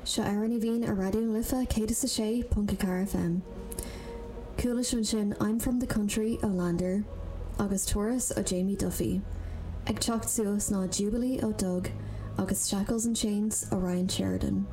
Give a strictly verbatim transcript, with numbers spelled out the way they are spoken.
Seo Amhrán Aoibhinn ar Raidió na Life céad is a sé ponc a ceathair FM. Chuala sibh ansin I'm from the country ó Lander agus Turas ó Jamie Duffy. Ag teacht suas ná Jubilee ó Doug agus Shackles and Chains ó Ryan Sheridan.